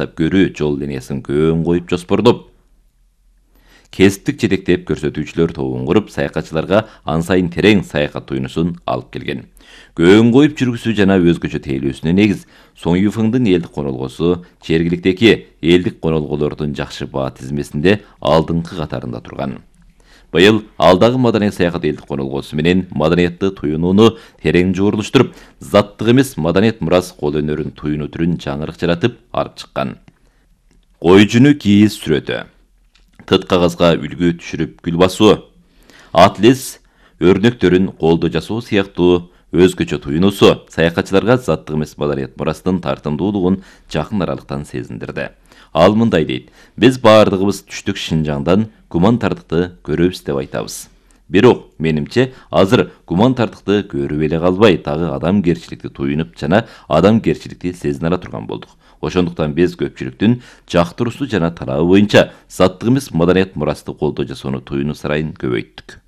көрүү жол линиясын көөн коюп жоспордоп, кесиптик жетектеп көрсөтүүчүлөр тобун куруп, саякатчыларга ан сайын терең саякат туюнусун алып келген. Көөн коюп жүргүзүү жана өзгөчө тейлөөсүнө негиз Соңюфыңдын элдик конолгосу жергиликтеги элдик конолголордун жакшы баа тизмесинде алдыңкы катарында турган. Быйыл алдагы маданият саякат элдик конолгосу менен маданиятты туюнууну терең жуурулуштуруп, заттык эмес маданият мурас кол өнөрүн туюнуу түрүн жаңырык жаратып алып чыккан. Койжуну кийиз сүрөтү, тыт кагазга үлгү түшүрүп гүл басуу, атлес өрнөктөрүн колдо жасоо сыяктуу өзгөчө туюнуусу саякатчыларга заттык эмес маданият мурастын тартымдуулугун жакын аралыктан сезиндирди. Ал мындай дейт: биз баардыгыбыз түштүк Шинжаңдан гуманитардыкты көрөбүз деп айтабыз. Бирок менимче азыр гуманитардыкты көрүп эле калбай, дагы адамгерчиликти туюнуп жана адамгерчиликти сезине ала турган болдук. Ошондуктан биз көпчүлүктүн жактыруусу жана талабы боюнча заттык эмес маданият мурасты колдоо жасоону туюнуу сарайын көбөйттүк.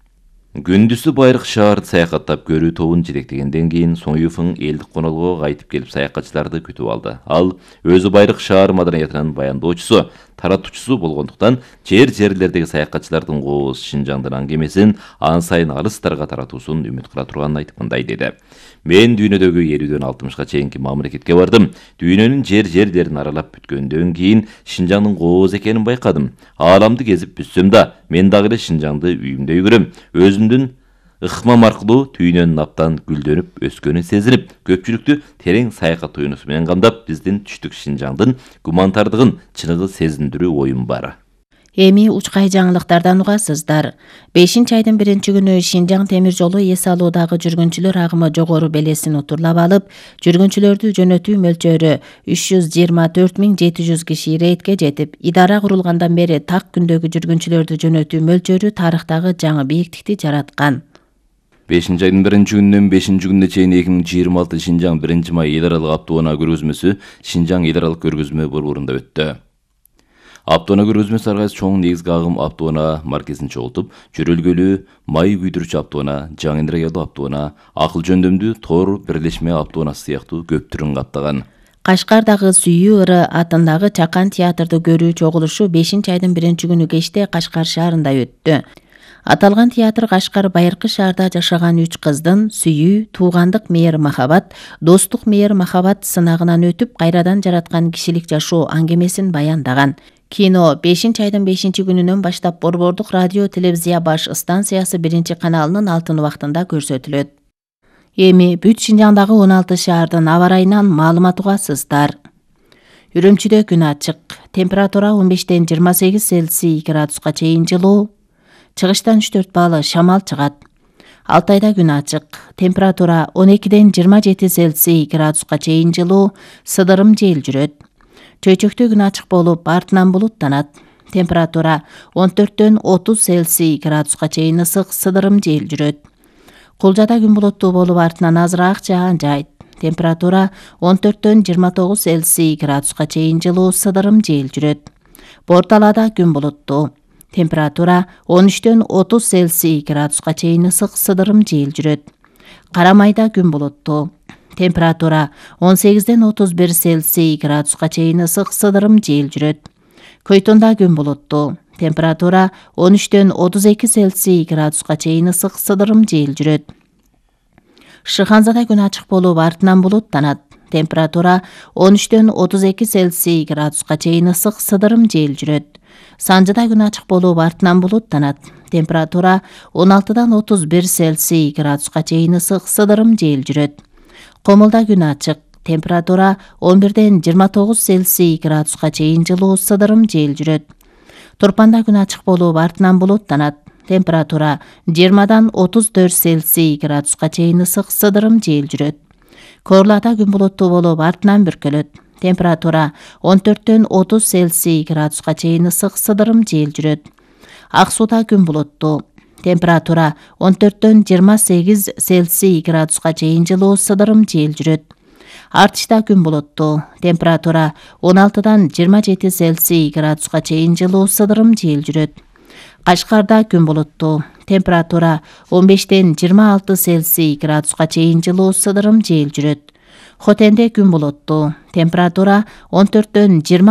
Күндүзү Байыркы шаарды саякаттап көрүү тобун жетектегенден кийин Соңюфың элдик конолгого кайтып келип саякатчыларды күтүп алды. Ал өзү Байыркы шаар маданиятынын баяндоочусу, таратуучусу болгондуктан жерлердеги саякатчылардын кооз Шинжаңдын аңгемесин ан сайын алыстарга таратуусун үмүт кыла турганын айтып мындай деди: мен дүйнөдөгү 50-дөн 60га чейинки мамлекетке бардым. Дүйнөнүн жерлерин аралап бүткөндөн кийин Шинжаңдын кооз экенин байкадым. Ааламды кезип бүтсөм да, мен дагы эле Шинжаңды үйүмдөй көрөм. Өзүмдүн ыкмам аркылуу түйнөнүн абдан гүлдөнүп өскөнүн сезинип, көпчүлүктү терең саякат туюнусу менен камдап, биздин түштүк Шинжаңдын гуманитардыгын чыныгы сезиндирүү оюм бар. Эми учкай жаңылыктардан угасыздар. 5-айдын 1-күнү Шинжаң темир жолу эс алуудагы жүргүнчүлөр агымы жогору белесин утурлап алып, жүргүнчүлөрдү жөнөтүү мөлчөрү 324.700 киши иретке жетип, идара курулгандан бери так күндөгү жүргүнчүлөрдү жөнөтүү мөлчөрү тарыхтагы жаңы бийиктикти жараткан. 5-айдын 1-күнүнөн 5-күнүнө чейин 2026 Шинжаң 1 май эл аралык автоунаа көргөзмөсү Шинжаң эл аралык көргөзмө борборунда өттү. Автоунаа көргөзмөсү ар кайсы чоң негизги агым автоунаа маркесин чогултуп, жөрөлгөлүү, май күйдүрүүчү автоунаа, жаңы энергиялуу автоунаа, акыл жөндөмдүү тор бирлешме автоунаасы сыяктуу көп түрүн каптаган. Кашкардагы Сүйүү ыры атындагы Чакан театрды көрүү чогулушу 5-айдын 1-күнү кечте Кашкар шаарында өттү. Аталган театр Кашкар Байыркы шаарда жашаган 3 кыздын сүйүү, туугандык мээр-махабат, достук мээр-махабат сынагынан өтүп, кайрадан жараткан кишилик жашоо аңгемесин баяндаган. Кино 5-айдын 5-күнүнөн баштап борбордук радио телевизия баш станциясы 1-каналынын алтын убактында көрсөтүлөт. Эми бүт Шинжаңдагы 16 шаардын аба ырайынан маалымат угасыздар. Үрүмчүдө күн ачык, температура 15-ден 28 Цельсий градуска чейин жылуу, чыгыштан 3-4 баалы шамал чыгат. Алтайда күн ачык, температура 12-ден 27 Цельсий градуска чейин жылуу, сыдырым жел жүрөт. Чөйчөктө күн ачык болуп, артынан булуттанат. Температура 14-дөн 30 Цельсий градуска чейин ысык, сыдырым жел жүрөт. Кулжада күн булуттуу болуп, артынан азыраак жаан жайт. Температура 14-дөн 29 Цельсий градуска чейин жылуу, сыдырым жел жүрөт. Борталада күн булуттуу. Температура 13-дөн 30 Цельсий градуска чейин ысык, сыдырым жел жүрөт. Карамайда күн булуттуу. Температура 18-ден 31 Цельсий градуска чейин ысык, сыдырым жел жүрөт. Көйтүндө күн булуттуу. Температура 13-дөн 32 Цельсий градуска чейин ысык, сыдырым жел жүрөт. Шыханзада күн ачык болуп, артынан булуттанат. Температура 13-дөн 32 Цельсий градуска чейин ысык, сыдырым жел жүрөт. Санжыда күн ачык болуп, артынан булуттанат. Температура 16-дан 31 Цельсий градуска чейин ысык, сыдырым жел жүрөт. Комулда күн ачык. Температура 11-ден 29 Цельсий градуска чейин жылуу, сыдырым жел жүрөт. Турпанда күн ачык болуп, артынан булуттанат. Температура 20-дан 34 Цельсий градуска чейин ысык, сыдырым жел жүрөт. Корлада күн булуттуу болуп, артынан бүркөлөт. Температура 14-дөн 30 Цельсий градуска чейин ысык, сыдырым жел жүрөт. Ак сууда күн булуттуу. Температура 14-дөн 28 Цельсий градуска чейин жылуу, сыдырым жел жүрөт. Артышта күн булуттуу. Температура 16-дан 27 Цельсий градуска чейин жылуу, сыдырым жел жүрөт. Кашкарда күн булуттуу. Температура 15-ден 26 Цельсий градуска чейин жылуу, сыдырым жел жүрөт. Хотенде күн булуттуу. Температура 14-дөн 26